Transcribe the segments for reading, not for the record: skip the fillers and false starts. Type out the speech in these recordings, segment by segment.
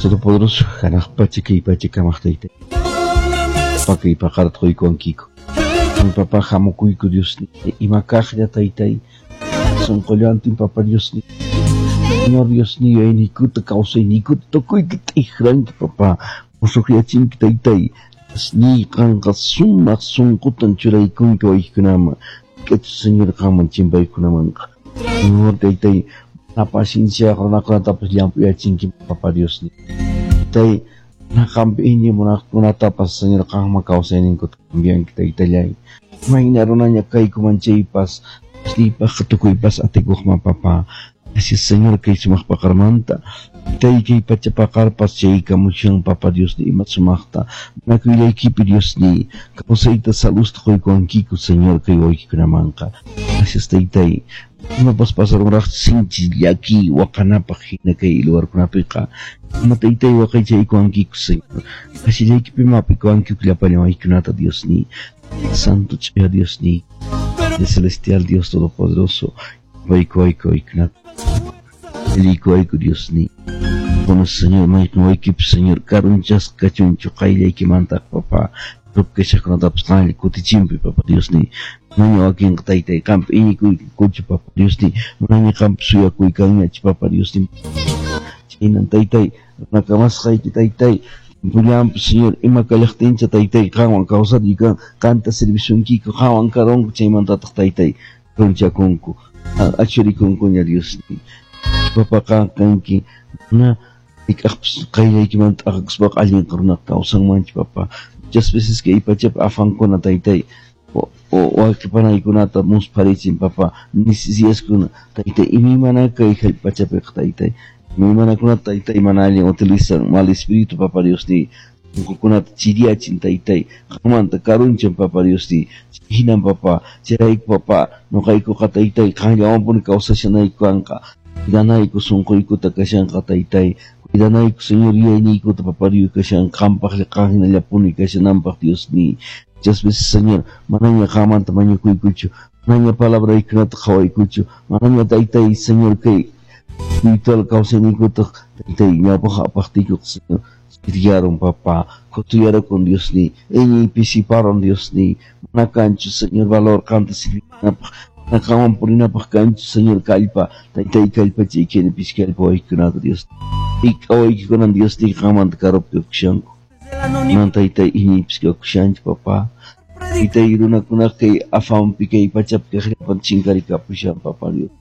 Todopoderoso, hanaq pacha kay pacha kamaq tayta. Pakay paqarta quykuwankiku. Papa hamukuyku Dios ima kaqlla taytay. Sunqullantin papa Dios Señor Dios yuyayniykuta kawsayniykuta tukuyta t'ikranki papa. Musuqyachinki taytay. Ni qanqa sumaq sunqutan churaykunki waykunaman. K'achu Señor qanman chimpaykunamanqa. Señor taytay, mana pacienciayuq runakunatapas llamp'uyachinki papa Dios. Taytay, mana qampi iñiy munaqkunatapas Señor qanman kawsayninkuta cambianki taytallay. Mayna runaña kaykuman chaypas, Diosniypaqqa tukuypas atikuqman papa. Gracias Señor kay sumaq paqarmanta. Taytay kay pacha paqarpas chaykamushan papa Diosni ima sumaqta. Munakuylaykipi Diosni kawsayta salusta quykuwankiku Señor kay waykikunamanqa. Gracias taytay. Imapas pasarunraqchu sinchi llaki waqanapaq hina kay lugarkunapiqa. Ima taytay waqaychaykuwankiku Señor. Kasillaykipim hap'ikuwankiku llapallan waykunata Diosni. Santo ch'uya Diosni. El celestial Dios Todopoderoso. Waykuwayku waykunata. Aliykuwayku Diosni. Bueno, Señor, mayqin waykipi Señor, karunchasqa kachunchu qayllaykimanta papa. Kashaqkunatapas qanlla kutichinpi papa Diosni. Manaña wakinqa taytay qampi iñikuykuchu papa Diosni. Manaña qampi suyakuykanñachu papa Diosni. Chaynan taytay, runakamasqayki taytay. Pullampi Señor, ima kallaqtincha taytay qanwan kawsariykan qanta servisunkiku qanwan karunku chaymantataq taytay runchakunku. Achurikunkuña Diosni. Papa qan kanki mana hayk'aqpas qayllaykimanta t'aqakuspaqa allin runaqa kawsanmanchu papa. Muchas veces kay pachapi afankuna taytay wawqi panaykunata muspharichin papa necesidadeskuna taytay imaymana kay pachapiqa taytay imaymanakunata taytay mana allin utilizan mal espíritu papa Diosni sunqukunata chiriyachin taytay qanmanta karunchan papa Diosni hinan papa chayrayku papa nuqaykuqa taytay qanllawanpuni kawsashanayku kanqa cuidanayku sunquykuta kashanqa taytay cuidanayku Señor yuyayniykuta papa Dios kashan qampaqlla qan hinallapuni kashananpaq Diosni. Muchas veces Señor manaña qanmanta mañakuykuchu manaña palabraykunata qhawaykuchu manaña taytay Señor kay espiritual kawsayniykuta taytay ñawpaq apaqtiykuqa Señor chiriyarun papa khutuyarukun Diosni iñiy pisiparun Diosni mana kanchu Señor valor qanta sirvinapaq mana qanwan purinapaq kanchu Señor kallpa taytay kallpachaykini pisi kallpa waykunata Dios waykikunan Diosni qanmanta karupi kakushanku man taytay iñiypis kakushanchu papa taytay runakunaqa kay afanpi kay pachapi kaqllapan chinkarikapushan papa Dios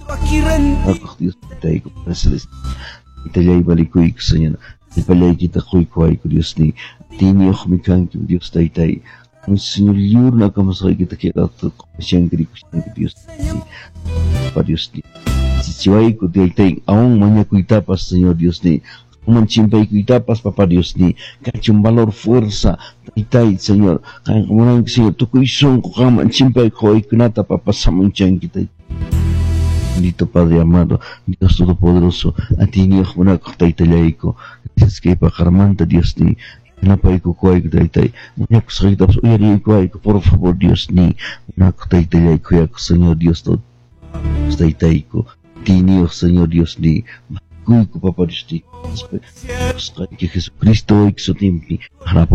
Aquq Dios taytayku taytallay valikuyku Señor llapallaykita quykuwayku Diosni atiyniyuqmi kanki Dios taytay Señor lliw runakamasqaykita kay rato qhawashanki rikushanki Dios papa Diosni chichiwayku taytay aún mañakuytapas Señor Diosni qanman chimpaykuytapas papa Diosni kachun valor fuerza taytay Señor qanqa munanki Señor tukuy sunqu qanman chimpaykuq waykunata papa samunchanki taytay. Bendito Padre amado, Dios Todopoderoso, atiyniyuq munakuq taytallayku. Gracias kay paqarmanta Diosni. Yanapaykukuwayku taytay. Mañakusqaykitapas uyariykuwayku, por favor Diosni. Munakuq taytallayku, khuyakuq Señor Dios taytayku. Atiyniyuq Señor Diosni. Kuyku papa Diosni. Jesucristo wayki sutinpi.